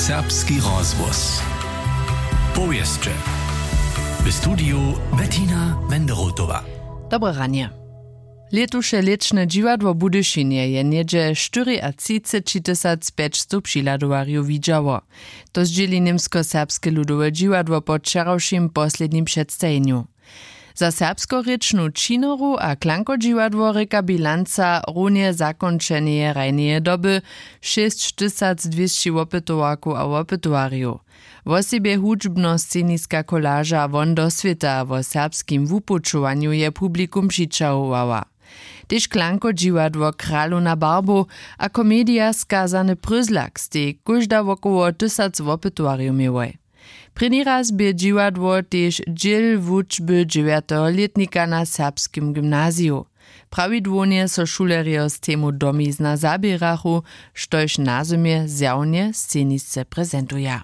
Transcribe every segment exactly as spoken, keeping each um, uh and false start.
Serbski rozhłos. Powěsće. W studiju Bettina Menderotowa. Dobre ranje. Lětuše lěčne dźiwadło w Budyšinje je něhdźe štyriatřiceći tysac pjećstow přihladowarjow widźało. To zdźěli němskoserbske ludowe dźiwadło po wčerawšim poslednim předstajenju. Za serbskorěčnu činoru a klankodźiwadło rěka bilanca runje zakónčeneje hrajneje doby šěsć tysac dwěsći wopytowarkow a wopytowarjow. Wosebje hudźbnosceniska kolaža won do swěta wo serbskim wupućowanju je publikum přićahowała. Tež klankodźiwadło Kralowna barbow a komedija Skazany pryzlak stej kóžda wokoło tysac wopytowarjow měłoj. Prěni raz bě dźiwadło tež dźěl wučby dźewjateho lětnika na serbskim gymnaziju. Prawidłownje so šulerjo z temu domizna zaběrachu, štož na zymje zjawnje scenisce prezentuja.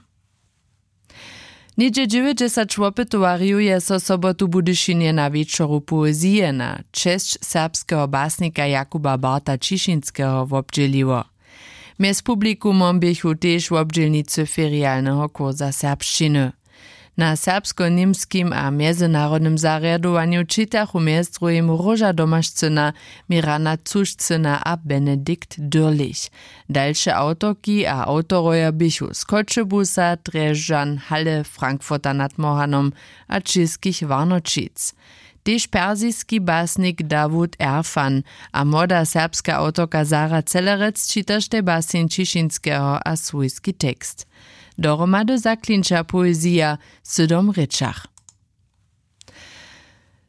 Něhdźe dźewjećdźesat wopytowarjow je so sobotu w Budyšinje na wječoru poezije na česć serbskeho basnika Jakuba Barta Ćišinskeho wobdźěliło. Mjez publikumom běchu tež wobdźělnicy ferialneho kursa serbšćiny. Na serbsko-němskim a mjezynarodnym zarjadowanju čitachu mjez druhim Róža Domašcyna, Mirana Cušcyna a Benedikt Dürlich. Dalše awtorki a awtorojo běchu z Choćebuza, Drježdźan, Halle, Frankfurta nad Mohanom a Českich Warnoćic. Tež persiski basnik Dawud Erfan a młoda serbska awtorka Sara Celerec čitaštej baseń Ćišinskeho a swójski tekst. Dohromady zaklinča poezija w sydom rěčach.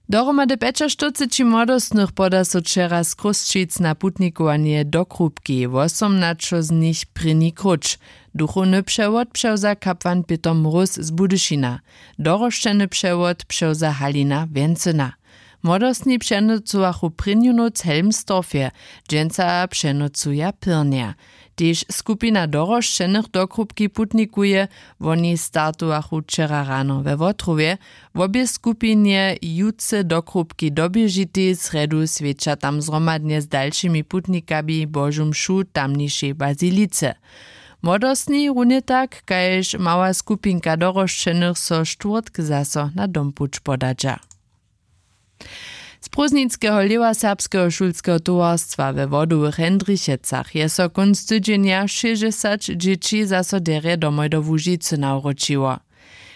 Dohromady pjećaštyrceći młodostnych poda so wčera z Chrósćic na putnikowanje do Krupki, wosomnaćo z nich prěni króć. Duchowny přewod přewza kapłan Pětr Mróz z Budyšina. Dorosćeny přewod přewza Halina Wjencyna. Młodostni přenocowachu prěnju nóc w Helmstorfje, dźensa přenocuja pyrnje. Tež skupina dorosćenych do Krupki putnikuje. Woni startowachu wčera rano we Wotrowje. Wobě skupinje jutře do Krupki doběžitej srjedu swjeća tam zhromadnje z dalšimi putnikami Božu mšu w tamnišej bazilice. Młodostni runje tak kaž mała skupinka dorosćenych so štwórtk zaso na dompuć podadźa. Z prózdninskeho lěhwa serbskeho šulskeho towarstwa we Wodowych Hendrichecach je so kónc tydźenja šěsćdźesat dźěći zaso derje domoj do Łužicy nawróčiło.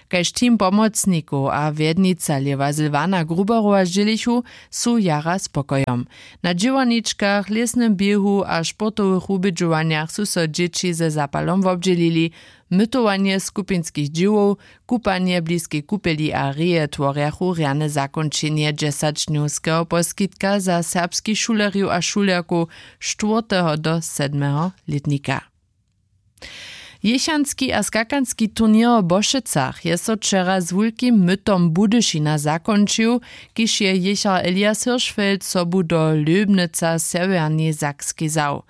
Kaž team pomocnikow a wjednica lěhwa Sylwana Gruberowa zdźělichu, su jara spokojom. Na dźěłarničkach, lěsnym běhu a sportowych wubědźowanjach su so dźěći ze zapalom wobdźělili. Mytowanje skupinskich dźěłow, kupanje w bliskej kupeli a reje tworjachu rjane zakónčenje dźesaćdnjowskeho poskitka za serbskich šulerjow a šulerkow štwórteho do sedmeho lětnika. Jěchanski a skakanski turněr w Bošecach je so wčera z wulkim mytom Budyšina zakónčił, kiž je jěchar Elias Hirschfeld sobu do Löbnica w Sewjernej Sakskej wzał.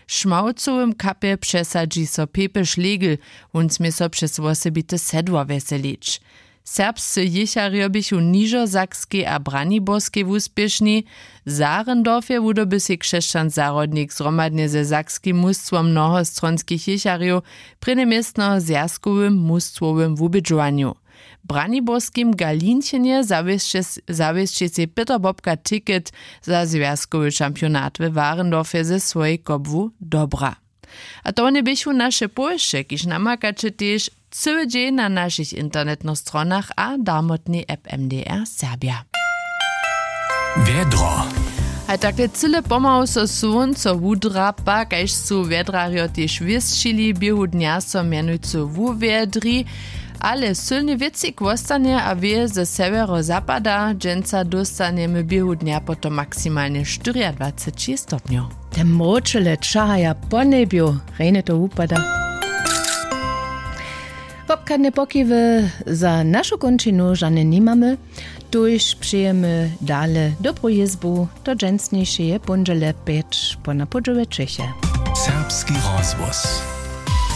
W Šmałcowym kapje přesadźi so Pepy Schlegel, wón smě so přez wosebite sedło wjeselić. Serbscy jěcharjo běchu w Nižosakskej a Braniborskej wuspěšni. W Saarendorfje wudoby sej Křesćan Zahrodnik zhromadnje ze sakskim mustwom mnohostronskich jěcharjow prěnje městno w zwjazkowym mustwowym wubědźowanju. W Braniborskim Galinčenje zawěsće sej Pětr Bobka ticket za zwjazkowy šampionat we Warendorfje ze swojej kobłu dobra. A to wone běchu naše powěsće, kiž namakaće tež cyły dźeń na našich internetnych stronach a darmotnej app M D R Serbja. Wjedro. Haj takle cyle pomału so słónco wudrapa, kaž su wjedrarjo tež wěsćili, běhu dnja so mjenujcy wuwjedri, ale sylny wětřik wostanje a wěje ze sewjerozapada. Dźensa dóstanjemy běhu dnja potom maksimalnje štyriadwaceći stopnjow. Te mróčele čahaja po njebju, rjenje to wupada. Wobchadne pokiwy za našu kónčinu žane nimamy. Tuž přejemy dale dobru jězbu do dźensnišeje póndźele pjeć po na pódźewje Čěche. Serbski rozhłos.